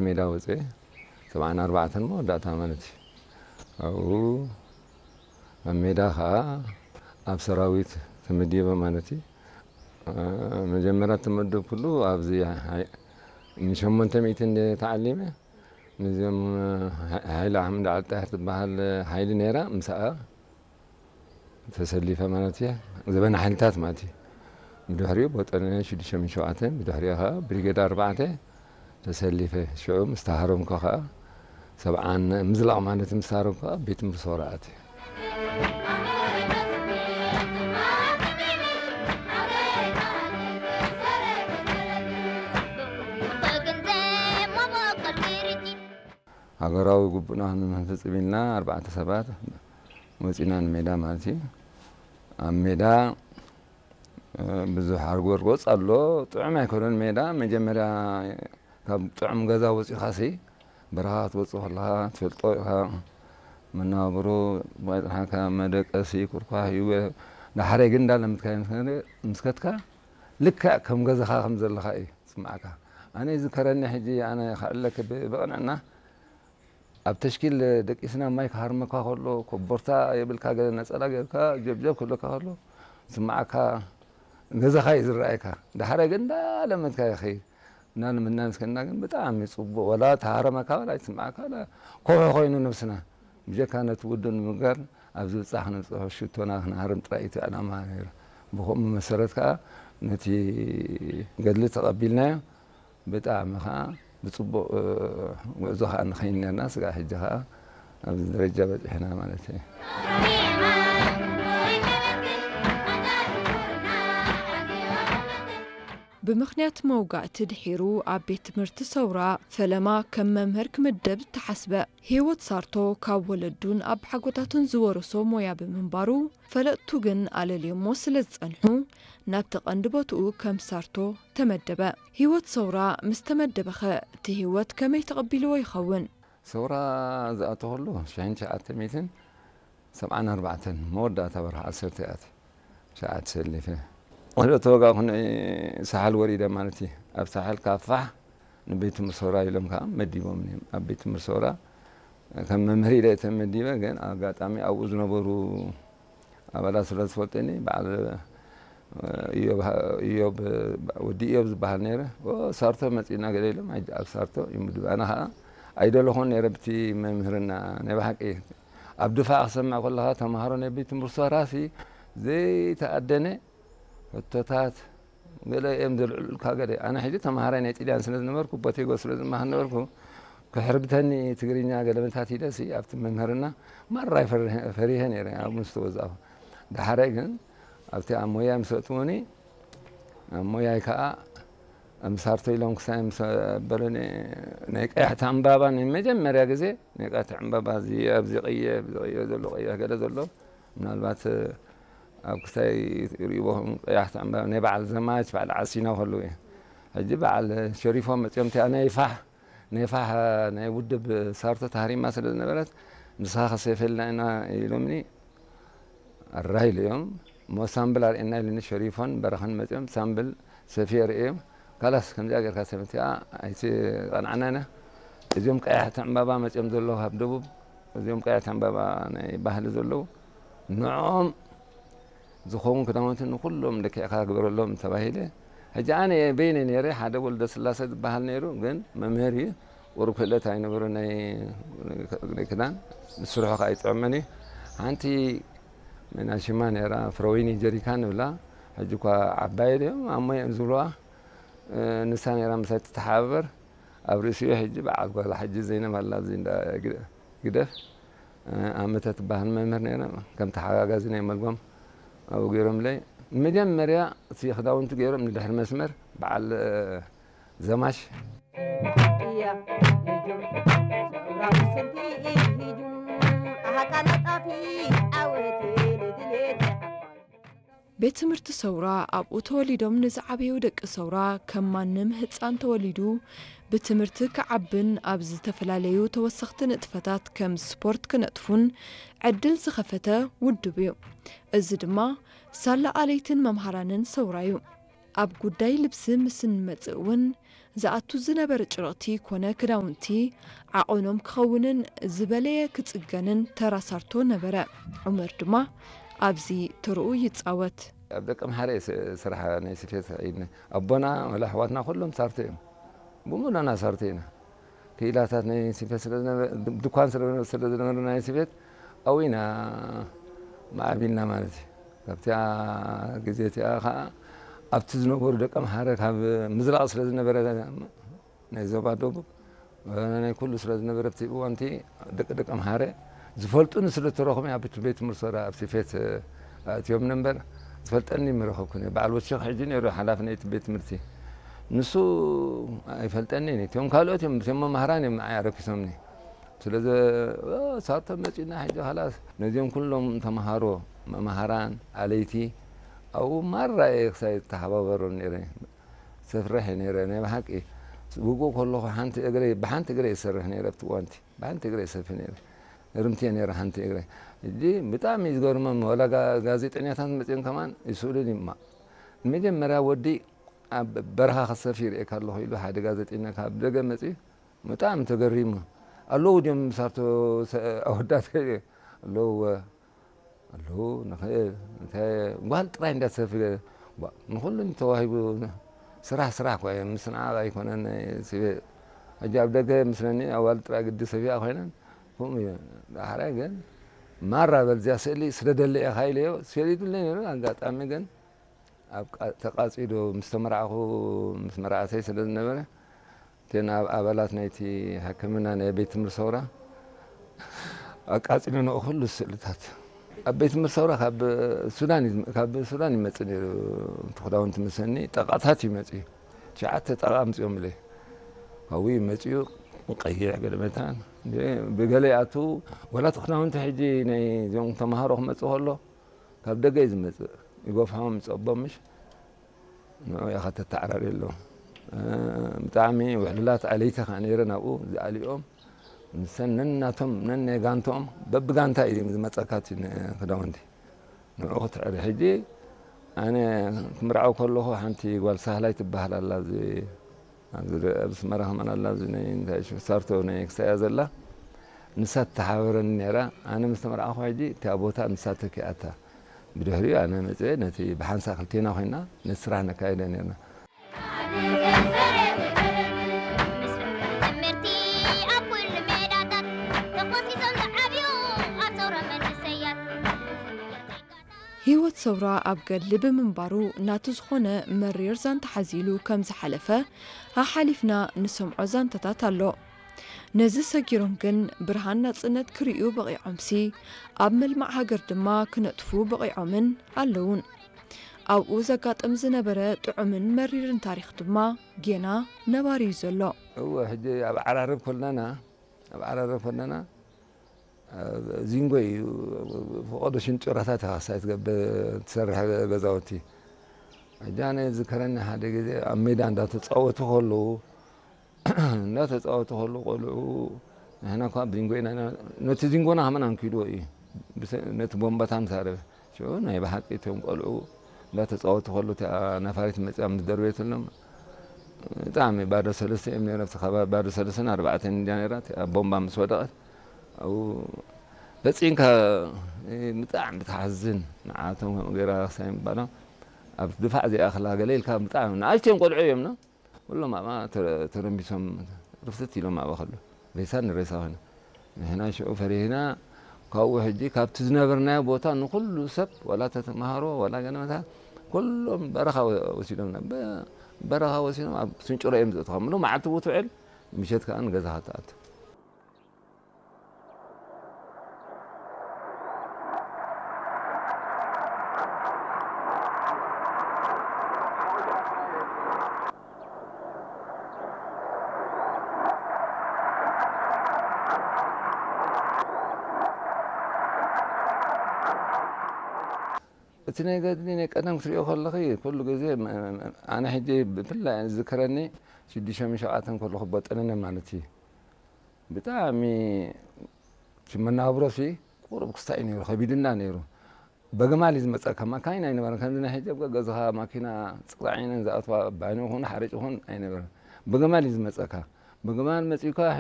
ሜዳ ወፅኤ ሰብዓን ኣርባዕተን መወዳእታ ማለት እዩ። ኣብኡ ኣብ ሜዳ ከዓ ኣብ ሰራዊት ተመዲበ ማለት እዩ። መጀመርያ ተመደብኩሉ ኣብዚ ንሸሞንተ ሚእቲ እንደ ተዓሊመ ንዚኦም ሓይሊ ኣሕመድ ዓልጣሕር ትበሃል ሓይሊ ነይራ። ምስኣ ተሰሊፈ ማለት እየ። ዘበን ሓይልታት ማለት እዩ። ብድሕሪኡ ቦጠነ ሽዱሽተ ሚእቲ ሸውዓተ፣ ብድሕሪኡ ከዓ ብሪጌድ ኣርባዕተ ተሰሊፈ። ሽዑ ምስ ተሃረምኩ ከዓ ሰብዓን ምዝላቕ ማለት ምስ ተሃረምኩ ከዓ ቤት ትምህርቲ ሰውራ ኣትየ። ሃገራዊ ግቡእና ክንፈጽም ኢልና ኣርባዕተ ሰባት ወጺና ንሜዳ ማለት እዩ። ኣብ ሜዳ ብዙሕ ኣርጎርጎጽ ኣሎ። ጥዑም ኣይኮነን ሜዳ። መጀመርያ ካብ ጥዑም ገዛ ወጺኻሲ በረኻ ክትወጽእ ከለኻ ትፈልጦ ኢኻ። መናብሮ ባይጽሓካ መደቀሲ ኩርኳሕ እዩ። ዳሕራይ ግን እንዳለምድካዮ ምስ ከድካ ልክዕ ከም ገዛኻ ከም ዘለኻ እዩ ዝስምዓካ። ኣነ ይዝከረኒ ሕጂ ኣነ ከዕለክ ብ-፣ ብቕንዕና ኣብ ተሽኪል ደቂስና ማይ ክሃርመካ ከሎ፣ ኮቦርታ የብልካ፣ ገለ ነጸላ ጌርካ ጀብጀብ ክብለካ ከሎ ዝስምዓካ ገዛኻ እዩ ዝረኣየካ። ዳሕራይ ግን እንዳለመድካ ይኸይድ። እናለመድና ምስ ከድና ግን ብጣዕሚ ጽቡቕ፣ ወላ ተሃረመካ ወላ ኣይትስምዓካ፣ ወላ ኮሖ ኮይኑ ነብስና። ብጀካ ነቲ ውዱእ ንምግባር ኣብ ዝብጻሕ ክንብጽሖ ሽቶና ክንሃርም ጥራይ እዩ እቲ ዕላማ ነይሩ። ብኸምኡ መሰረት ከኣ ነቲ ገድሊ ተቐቢልናዮ። ብጣዕሚ ኸዓ ብጽቡቕ፣ እ፣ ጉዕዞ ኸዓ ንኸይድ ነርና። ስጋዕ ሕጂ ኸዓ ኣብዚ ደረጃ በጺሕና ማለት እዩ። ብምኽንያት መውጋእቲ ድሒሩ ኣብ ቤት ትምህርቲ ሰውራ ፈለማ ከም መምህር ክምደብ ተሓስበ። ህይወት ሳርቶ ካብ ወለዱን ኣባሓጎታቱን ዝወረሶ ሞያ ብምንባሩ፣ ፈለጥቱ ግን ኣለልዮሞ ስለ ዝጸንሑ፣ ናብቲ ቀንዲ ቦትኡ ከም ሳርቶ ተመደበ። ህይወት ሰውራ ምስ ተመደበኸ፣ እቲ ህይወት ከመይ ተቐቢልዎ ይኸውን? ሰውራ ዝኣተኹሉ ሽሕን ትሽዓተ ሚእትን ሰብዓን ኣርባዕተን መወዳእታ ወርሒ ዓሰርተ እያ። ሸዓ ተሰሊፈ። ወደ ተወጋእኩ ንሳሕል ወሪደ ማለት እዩ። ኣብ ሳሕል ካብ ፋሕ ንቤት ትምህርቲ ሰውራ ኢሎም ከዓ መዲቦምኒ እዮም። ኣብ ቤት ትምህርቲ ሰውራ ከም መምህር ኢለ እየ ተመዲበ፣ ግን ኣጋጣሚ ኣብኡ ዝነበሩ ኣባላት ስለ ዝፈልጡኒ፣ በዓል ኢዮብ፣ ኢዮብ፣ ወዲ ኢዮብ ዝበሃል ነይረ። "ኦ፣ ሳርቶ መጺእና" ገለ ኢሎም፣ ኣብ ሳርቶ ይምድቡ። ኣነ ከዓ ኣይደለኹን ነይረ ብቲ መምህርና። ናይ ብሓቂ ኣብ ድፋዕ ክሰምዕ ከለኻ፣ ተምሃሮ ናይ ቤት ትምህርቲ ሰውራሲ ዘይተኣደነ ሕቶታት ገለ እዮም ዘልዕሉልካ። ገለ ኣነ ሕጂ ተምሃራይ ናይ ጥልያን ስለ ዝነበርኩ፣ ቦቴጎ ስለ ዝመሃር ነበርኩ፣ ክሕርብተኒ ትግርኛ ገለመታት ኢለሲ ኣብቲ መምህርና ማራ ፈሪሀ፣ ፈሪሀ ነይረ ኣብ ምስ ተወዛእኩ። ዳሕራይ ግን ኣብቲ ኣብ ሞያ ምስ ኣእትዉኒ፣ ኣብ ሞያይ ከዓ ኣብ ሳርቶ ኢሎም ክሳይ ምስ ኣበሉኒ፣ ናይ ቀያሕቲ ዕምባባ ናይ መጀመርያ ግዜ ናይ ቀያሕቲ ዕምባባ እዚ ኣብዚ ቀይሕ፣ እዚ ቀይሕ ዘሎ ቀይሕ ገለ ዘሎ ምናልባት ኣብ ክሳይ ሪእዎ ቀያሕቲ ዕምባባ ናይ በዓል ዘማች በዓል ዓሲና ከለዉ እዩ። ሕጂ በዓል ሸሪፎም መፅኦም እቲኣ ናይ ፋሕ፣ ናይ ፋሕ ናይ ውድብ ሳርቶ ታህሪማ ስለ ዝነበረት፣ "ንስኻ ከሰይፈልና ኢና" ኢሎምኒ። ኣራይ ኢሉ እዮም። እሞ ሳምብል ኣርእየና ኢሉኒ ሸሪፎን በረኸን መፅኦም ሳምብል ሰፍየ ርእዮም። "ካላስ ከምዚኣ ጌርካ ሰበቲኣ ኣይትቐንዓና ኢና። እዚኦም ቀያሕቲ ዕምባባ መፅኦም ዘለዉ ካብ ደቡብ፣ እዚኦም ቀያሕቲ ዕምባባ ናይ ባህሊ ዘለዉ፣ ንዕኦም ዝኸውን ክዳውንቲ ንኹሎም ልክዕካ ግበረሎም" ተባሂለ። ሕጂ ኣነ በይነ ነይረ፣ ሓደ ወልደ ስላሰ ዝበሃል ነይሩ፣ ግን መምህር እዩ። ቁሩብ ክእለት ኣይነበሮ ናይ፣ ናይ ክዳን፣ ንስርሑ ከኣ ኣይጥዕመን እዩ። ሓንቲ ናይ ሽማ ነይራ፣ ፍረወይኒ ጀሪካን ንብላ፣ ሕጂ እኳ ዓባይ ድዮም፣ ኣሞ እዮም ዝብልዋ። እ፣ ንሳ ነይራ ምሳይ ትተሓባበር። ኣብ ርእሲኡ ሕጂ በዓል ጓላ ሕጂ ዘይነብ ኣላ፣ ኣብዚ እንዳ ግደ-፣ ግደፍ። እ፣ ኣመተ ትበሃል መምህር ነይራ፣ ከም ተሓጋጋዚ ናይ መልጎም ኣብኡ ገይሮምለይ። ንመጀመርያ እቲ ክዳውንቲ ገይሮም ንድሕሪ መስመር በዓል፣ እ፣ ዘማች። እያ ሂጁ፣ ሰውራ ምስልቲ ሂጁ፣ ኣሃቃና ጣፊ ዓወት ንድሌት። ቤት ትምህርቲ ሰውራ ኣብኡ ተወሊዶም ንዝዓበዩ ደቂ ሰውራ ከም ማንም ህጻን ተወሊዱ ብትምህርቲ ክዓብን ኣብ ዝተፈላለዩ ተወሰኽቲ ንጥፈታት ከም ስፖርት ክነጥፉን ዕድል ዝኸፈተ ውድብ እዩ። እዚ ድማ ሳላ ኣለይትን መምሃራንን ሰውራ እዩ። ኣብ ጉዳይ ልብሲ ምስ እንመጽእ እውን ዝኣቱ ዝነበረ ጭርቕቲ ኮነ ክዳውንቲ ዓቐኖም ክኸውንን ዝበለየ ክጽገንን ተራ ሳርቶ ነበረ። ዑመር ድማ ኣብዚ ተርኡ ይጻወት። ኣብ ደቀምሓረ እየ ስ- ስራሕ ናይ ስፌት ኢድና ኣቦና ወላ ኣሕዋትና ኩሎም ሳርቶ እዮም። ብሙሉና ሳርቶ ኢና። ክኢላታት ናይ ስፌት ስለ ዝነበ- ድኳን ስለ ስለ ዝነበረ ናይ ስፌት ኣዊና ማዕቢልና ማለት እዩ። ካብቲኣ ግዜ እቲኣ ከዓ ኣብቲ ዝነበሩ ደቀምሓረ ካብ ምዝራቕ ስለ ዝነበረ ናይ ዞባ ደቡብ ናይ ኩሉ ስለ ዝነበረ ኣብቲ እዋንቲ ደቂ ደቀምሓረ ዝፈልጡኒ ስለ ዝተረኹም ኣብ ቤት ትምህርቲ ሰራ ኣብ ስፌት ኣእትዮም ነበር ዝፈልጠኒ ምረኸብኩ በዓል ወሸኽ ሕጂ ነይሩ ሓላፊ ናይቲ ቤት ትምህርቲ ንሱ ኣይፈልጠኒ እቶም ካልኦት እዮም እቶም መማህራን እዮም ንዓይ ኣረኪሶምኒ ስለዚ ሳቶ መፂና ሕጂ ኻላስ ነዚኦም ኩሎም ተምሃሮ መማሃራን ኣለይቲ ኣብኡ ማራ እየ ክሳይ ተሓባበሮም ነይረ ሰፍርሕ ነይረ ናይ ብሓቂ ውግእ ከለኹ ሓንቲ እግረይ ብሓንቲ እግረይ ይሰርሕ ነይረ ኣብቲ እዋንቲ ብሓንቲ እግረይ ሰፊ ነይረ ርምቲ ነይረ ሓንቲ እግረይ እጂ ብጣዕሚ ዝገርሞም ወላ ጋዜጠኛታት መፅኦም ከማን ይስእሉን ይማ ንመጀመርያ ወዲ ኣብ በረኻ ከሰፊ ይርእየካ ኣለኹ ኢሉ ሓደ ጋዜጠኛ ካብ ደገ መፅኡ ብጣዕሚ ተገሪሙ ኣለዉ ድዮም ምሳቶ ኣወዳት ኣለዎ ኣለዉ ንኽእል እንታይ ጓል ጥራይ እንዳሰፊ ንኹሉ ተዋሂቡ ስራሕ ስራሕ ኮ ምስ ንዓቕ ኣይኮነን ሕጂ ኣብ ደገ ምስለኒ ኣዋል ጥራይ ግዲ ሰፊያ ኮይነን ከምኡ እዩ ዳሕራይ ግን ማራ በልዚያ ስእሊ ስለ ደለ ኢኻ ኢለዮ ሰሊዱለይ ነይሩ ኣጋጣሚ ግን ኣብ ተቃጺሉ ምስ ተመርዓኹ ምስ መርዓተይ ስለ ዝነበረ እተን ኣብ ኣባላት ናይቲ ሕክምና ናይ ቤት ትምህርቲ ሰውራ ኣቃጺሉ ንኡ ኩሉ ስእልታት ኣብ ቤት ትምህርቲ ሰውራ ካብ ሱዳን ካብ ሱዳን ይመጽእ ነይሩ ክዳውንቲ ምሰኒ ጠቃታት ይመጽእ ትሽዓተ ጠቃ ኣምጽኦም ኢለ ካብኡ ይመጽኡ ቀይሕ ገለ መታን ብገለ ይኣቱ ወላ ክዳውንቲ ሕጂ ናይ እዚኦም ተማሃሮ ክመጽእ ከሎ ካብ ደገ እዩ ዝመጽእ ይጎፍሖም ይጸቦም ምሽ ንዑ ኢኻ ተተዓራርየሎም ብጣዕሚ ውሕሉላት ኣለይቲ ከዓ ነይረ ናብኡ ዝኣልኦም ንሰን ነናቶም ነናይ ጋንትኦም በብጋንታ እዩ ዝመፀካ እቲ ክዳውንቲ ንዑ ክትዕሪ ሕጂ ኣነ ክምርዓው ከለኹ ሓንቲ ጓል ሳህላይ ትበሃል ኣላ ኣብዚ ኣብዚ ኣስመራ ከማን ኣላ ኣብዚ ናይ እንታይ ሽም ሳርቶ ናይ ክሳያ ዘላ ንሳ ትተሓበረኒ ነይራ ኣነ ምስ ተመርዓኹ ሕጂ እቲኣ ቦታ ንሳ ተኪኣታ ብድሕሪኡ ኣነ መፅአ ነቲ ብሓንሳ ክልቴና ኮይና ነቲ ስራሕ ነካይደ ነርና ትምህርቲ ኣብ ኩሉ ሜዳታት ተኾሲሶም ዝዓብዩ ኣብ ሰውራ መንእሰያት ህይወት ሰውራ ኣብ ገድሊ ብምንባሩ ናቱ ዝኾነ መሪር ዛንታ ሓዚሉ ከም ዝሓለፈ ኣሓሊፍና ንሰምዖ ዛንታታት ኣሎ። ነዚ ሰጊሮም ግን ብርሃን ናጽነት ክርእዩ በቒዖምሲ ኣብ መልማዕ ሃገር ድማ ክነጥፉ በቒዖምን ኣለዉን። ኣብኡ ዘጋጥም ዝነበረ ጥዑምን መሪርን ታሪኽ ድማ ጌና ነባሪ እዩ ዘሎ። እወ ሕጂ ኣብ ዓራርብ ኮለና ኣብ ዓራርብ ኮለና ዚንጎ እዩ ፈቐዶ ሽንጭራታት ኢኻ ክሳይ ትገብር ትሰርሕ ገዛውቲ ሕጂ ኣነ ዝከረኒ ሓደ ግዜ ኣብ ሜዳ እንዳተፃወቱ ከለዉ እንዳተፃወቱ ከለዉ ቆልዑ ንሕና እኳ ዚንጎ ኢና ነቲ ዚንጎና ከመን ኣንኪድዎ እዩ ነቲ ቦምባታ ምሳረበ ሽዑ ናይ ብሓቂ እቶም ቆልዑ እንዳተፃወቱ ከለዉ እቲኣ ነፋሪት መፅያ ምስ ደርበየትሎም ብጣዕሚ ባዶ ሰለስተ እዮም ነይሮም። እቲ ከባቢ ባዶ ሰለስተን ኣርባዕተን እንድያ ነይራ። እቲኣ ቦምባ ምስ ወደቐት ኣብኡ ፈፂምካ ብጣዕሚ ትሓዝን። ንዓቶም ከምኡ ገይራ ክሳይ ምባሎም ኣብ ድፋዕ ዘይኣኽላ ገለ ኢልካ ብጣዕሚ ንኣሽተዮም ቆልዑ እዮም ኖ ኩሎም ኣብኣ ተረምቢሶም ርፍትት ኢሎም ኣብኣ ከለዉ ሬሳ ንሬሳ ኮይኖም። ንሕና ሽዑ ፈሪህና ካብኡ ሕጂ ካብቲ ዝነበርናዮ ቦታ ንኩሉ ሰብ ዋላ ተተምሃሮ ዋላ ገለ መታን ኩሎም በረኻ ወሲዶምና በረኻ ወሲዶም ኣብ ስንጭሮ እዮም ዘእትኻ ምሉ መዓልቲ ውትውዕል ምሸት ከዓ ንገዛኻ ትኣቱ እቲ ናይ ገድሊ ናይ ቀደም ክትሪኦ ከለኺ ኩሉ ግዜ ኣነ ሕጂ ብፍላይ ዝዝክረኒ ሽዱሽተ ሸውዓተን ከለኹ በጠነነ ማለት እዩ ብጣዕሚ መናብሮሲ ቁሩብ ክስታይ ነይሩ ከቢድና ነይሩ በግማል እዩ ዝመፀካ። ማካይን ኣይነበረን። ከምዚ ናይ ሕጂ ኣብ ገዛኻ ማኪና ፅቕዒነን ዝኣትዋ ባኒ ይኹን ሓርጭ ይኹን ኣይነበረን። ብግማል እዩ ዝመፀካ። ብግማል መፂኡካ